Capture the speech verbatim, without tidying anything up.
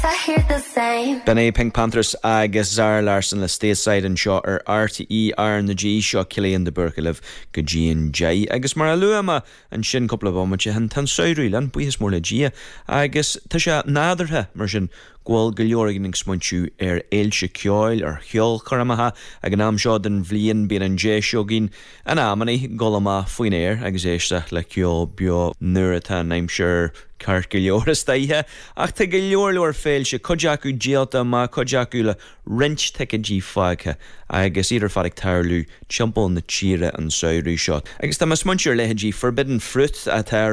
I hear the same. B'in é PinkPantheress agus Zara Larsson le Stateside anseo ar RTÉ RnaG seo Cillian de Búrca libh go dtí an deich agus mar a luaigh mé ansin cúpla bomaite ó shin tá an samhradh linn buíochas mór le Dia agus tá sé nádúrtha mar sin go bhfuil go leor againn ag smaointiú ar fhéilte ceoil ar cheolchoirmeacha ag an am seo den bhliain bíonn an deis againn in amannaí dul amach faoin aer agus éisteacht le ceol beo nuair atá an aimsir ceart go leor istoíche ach tá go leor leor féilte cuid acu díolta amach cuid acu le roinnt ticéidí fágtha agus iad ar fad ag tarlú timpeall na tíre an samhradh seo. Agus tá mé ag smaointiú ar leithéidí Forbidden Fruit atá